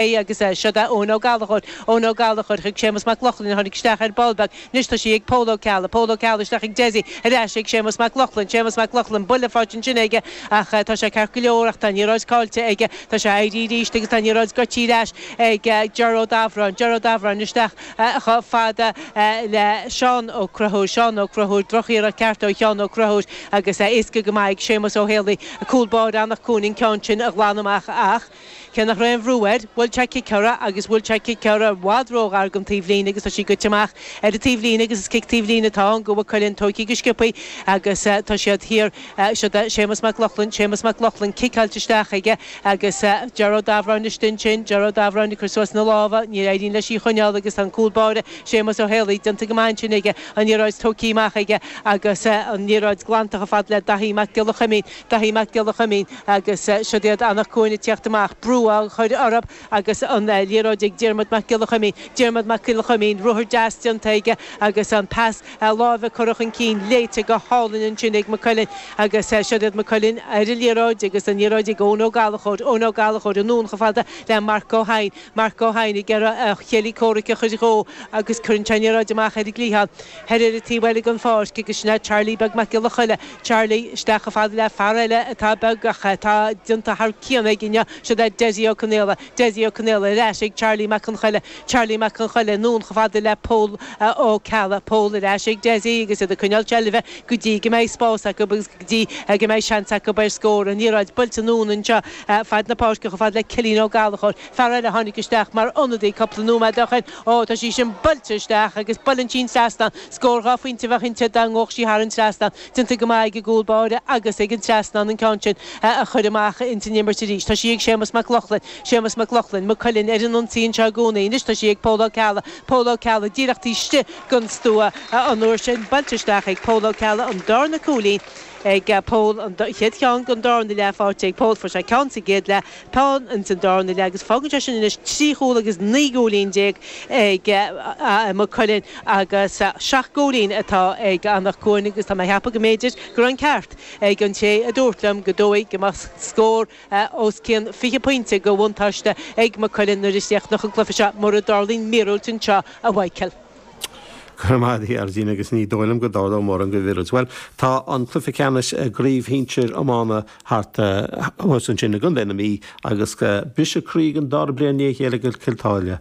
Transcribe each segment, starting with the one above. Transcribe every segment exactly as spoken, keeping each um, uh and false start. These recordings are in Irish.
Agus seo é Eoin Ó Gallchóir, Eoin Ó Gallchóir chuig Séamus Mac Lochlainn a tháinig isteach ar ball beag. Anois tá sí ag Pól Ó Ceallaigh, Pól Ó Ceallaigh isteach ag Dessie, ar ais ag Séamus Mac Lochlainn, Séamus Mac Lochlainn, buille faighte ansin aige ach tá sé ceart go leor ach tá an liathróid caillte aige. Tá sé éirithe arís agus tá an liathróid goidte ar ais ag Ger Ó Dabhráin, Ger Ó Dabhráin isteach chomh fada le Seán Ó Conchúir, Seán Ó Conchúir, drochiarracht ceart ó Sheán Ó Conchúir agus éasca go maith ag Séamus Ó Héalaí, cúl báire Anach Cuain an ceann sin a ghlanadh amach ach cé nach raibh aon bhrú air, bhuail sé cic uirthi agus bhuail sé cic uirthi i bhfad róghar don taobhlíne agus tá sí goite amach ar an taobhlíne agus is cic taobhlíne atá ann do Mhaigh Cuilinn tógtha go sciobtha agus tá siad thiar. Seo é Séamus Mac Lochlainn, Séamus Mac Lochlainn, ciceáilte isteach aige agus Ger Ó Dabhráin istigh ansin, Ger Ó Dabhráin ag cur suas na lámha, ní éiríonn leis í a choinneáil agus tá an cúl báire Séamus Ó Héalaí déanta go maith ansin aige, an liathróid tógtha amach aige agus an liathróid glanta chomh fada le Daithí Mac Giolla Chuimín, Daithí Mac Giolla Chuimín agus siod iad Anach Cuain ag tíocht amach, brú á chur orthu agus an liathróid ag Diarmuid Mac Giolla Chuimín, Diarmuid Mac Giolla Chuimín, ruathar deas déanta aige agus an pas láimhe curtha chun cinn, léite go hálainn ansin ag Maigh Cuilinn agus siod iad Maigh Cuilinn ar an liathróid agus an liathróid ag Eoin Ó Gallchóir, Eoin Ó Gallchóir anonn chomh fada le Marc Ó hEidhin, Marc Ó hEidhin ag iarraidh a chéile comhraic a chur dhó agus cuireann sé an liathróid amach ar an gcliathán thoir ar an taobh eile den pháirc agus sin é Charlie Beag Mac Giolla Choille, Charlie isteach chomh fada le fear eile atá beag ach atá déanta thar cionn aige inniu, siod é Dessie Ó Conaola, Dessie Ó Conaola ar ais ag Charlie Mac Con Choille, Charlie Mac Con Choille anonn chomh fada le Pól Ó Ceallaigh, Pól ar ais ag Dessie agus iad ag coinneáil seilbhe go dtí go mbeidh spás acu agus go dtí go mbeidh seans acu ar scór. An liathróid buailte anonn anseo fad na páirce chomh fada le Cillian Ó Gallchóir, fear eile a tháinig isteach mar ionadaí cúpla nóiméad ó shin. Ó, tá sí sin buailte isteach agus buaileann sí an trasnán. Scór dhá phointe a bheadh inti dá ngabhfadh sí thar an trasnán. Déanta go maith ag an gcúl báire agus ag an trasnán an ceann sin a chur amach ins an imirt arís. Tá sí ag Séamus Mac Lochlainn, Séamus Mac Lochlainn, Maigh Cuilinn ar an ionsaí anseo i gcónaí. Anois tá sí ag Pól Ó Ceallaigh, Pól Ó Ceallaigh díreach taobh istigh den stua an uair sin. Buailte isteach ag Pól Ó Ceallaigh an darna cúilín ag Pól, an chéad cheann den darna leath faighte ag Pól. Fuair sé ceann sa gcéad leath, ceann ins an darna leath agus fágann sé sin anois trí chúl agus naoi gcúilín déag ag Maigh Cuilinn agus seacht gcúilín atá ag Anach Cuain agus tá mé a cheapadh go mb'fhéidir go raibh an ceart ag an té a dúirt liom go dóigh go mbeadh scór os cionn fiche pointe de bhuntáiste ag Maigh Cuilinn nuair a chríochnódh an cluiche seo mura dtarlaíonn míorúilt anseo, a Mhichael. Go raibh maith agat, a Gina, agus ní dóigh liom go dtarlódh mórán de mhíorúilt. Bhuel, tá an cluiche ceannais i gcraobh shinsir iomána thart thuas ansin i gContae na Mí agus briseadh croí don dara bliain i ndiaidh a chéile ag Cill tSáile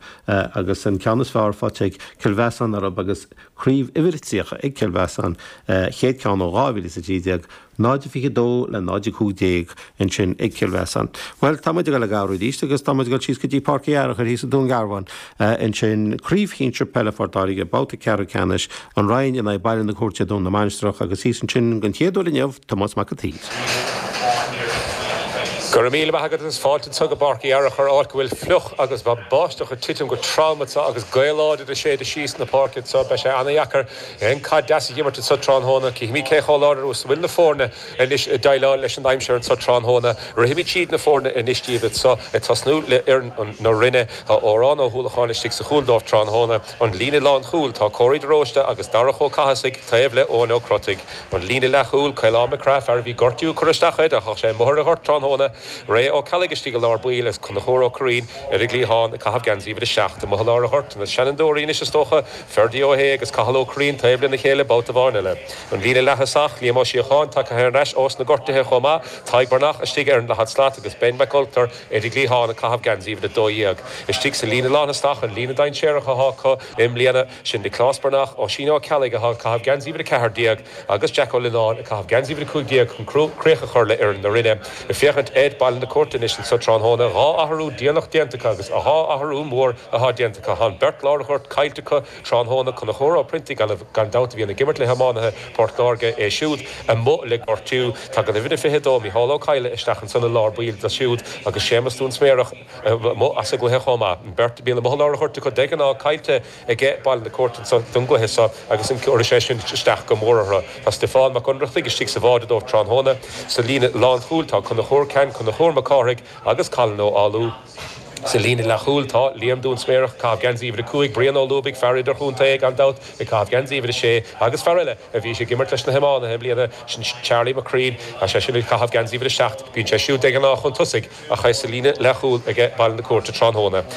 agus an ceann is fearr faighte ag Cill Mheasáin orthu agus craobh uimhir a tríocha ag Cill Mheasáin, chéad ceann ó dhá mhíle is a trí déag. náid a fiche dó le náid a cúig déag ansin ag Cill Mheasáin. Bhuel, tá muid ag dul ag athrú arís agus tá muid ag dul síos go dtí Páirc Uí Fhearchair thíos i nDún Garbhán ansin. Craobh Shinsir Peile Phort Láirge, babhta ceathrú ceannais, An Rinn in aghaidh Baile na Cúirte, Dún na Mainistreach agus thíos ansin den chéad uair inniu, Tomás Mac an tSaoir. Go raibh míle maith agat agus fáilte anseo go Páirc Uí Fhearchair, áit go bhfuil fliuch agus tá báisteach ag titim go trom anseo agus gaoth láidir ag séideadh síos na páirce anseo. Beidh sé ana-dheacair aon caid deas a dh'imirt anseo tráthnóna. Cífimid cé chomh láidir is a bhfuil na foirne anois ag déileáil leis an aimsir anseo tráthnóna. Rithimid tríd na foirne anois díobh anseo, ag tosnú le foireann na Rinne. Tá Odhrán Ó hUallacháin istigh sa chúl dóibh tráthnóna. An líne lánchúil, tá Córaí de Róiste agus Darach Ó Cathasaigh taobh le Eoin Ó Crotaigh. An líne leathchúil, Caolán Mac Craith, fear a bhí gortú ag cur isteach air, ach tá sé amuigh ar an ghort tráthnóna. Ray Ó Ceallaigh istigh i lár baill agus Conchúr Ó Curraoin ar an gcliathán ag caitheamh geansaí uimhir a seacht. Amuigh i lár an ghoirt, na seanfhondúirí anois is dócha, Ferdie Ó hAodha agus Cathal Ó Curraoin taobh lena chéile babhta amháin eile. An líne leath-thosach, Liam Ó Síocháin tagtha thar n-ais ós na gortuithe chomh maith, Tadhg Breathnach istigh ar an leithead slat agus Ben Mac Ultair ar an gcliathán ag caitheamh geansaí uimhir a dó dhéag. Istigh sa líne lánthosach, an líne dainséarach atá acu i mbliana, sin Nioclás Breathnach, Oisín Ó Ceallaigh atá ag caitheamh geansaí uimhir a ceathair déag agus Jack Ó Lionáin ag caitheamh geansaí uimhir a cúig déag chun críoch a chur le fhoireann na Rinne. Ag féachaint ar Baile na Cúirte anois anso tráthnóna, dhá athrú déanach déanta acu agus dhá athrú mór atá déanta acu. Tá an beirt lár an ghoirt caillte acu tráthnóna, Conchúr Ó Priontaigh gan dabht a bhíonn ag imirt le hiománaithe Phort Láirge, é siúd amuigh le gortú. Tagann uimhir a fiche dó, Micheál Ó Cadhla isteach ansan i lár baill dó siúd agus Séamus Dún Sméarach amuigh as an gcluiche chomh maith. An bheirt a bhíonn amuigh i lár an ghoirt acu de ghnáth caillte aige Baile na Cúirte anso don gcluiche seo agus an cuirfidh sé sin isteach go mór orthu. Tá Stiofán Mac Ionnrachtaigh istigh sa bháide dóibh tráthnóna. Sa líne lánchúil tá Conchúr Ceann, Conchúr Mac Cárthaigh agus Colin Ó Fhoghlú. Sa líne leathchúil tá Liam Dún Sméarach caitheamh geansaí uimhir a cúig Brian Ó Lúbaigh fear idirchontae gan dabht ag caitheamh geansaí uimhir a sé agus fear eile a bhí ag imirt leis na hiománaithe i mbliana sin Charlie McCrean a sé sin ag caitheamh geansaí uimhir a seacht bíonn sé siúd de ghnáth chun tosaigh ach é sa líne leathchúil ag Baile na Cúirte tráthnóna.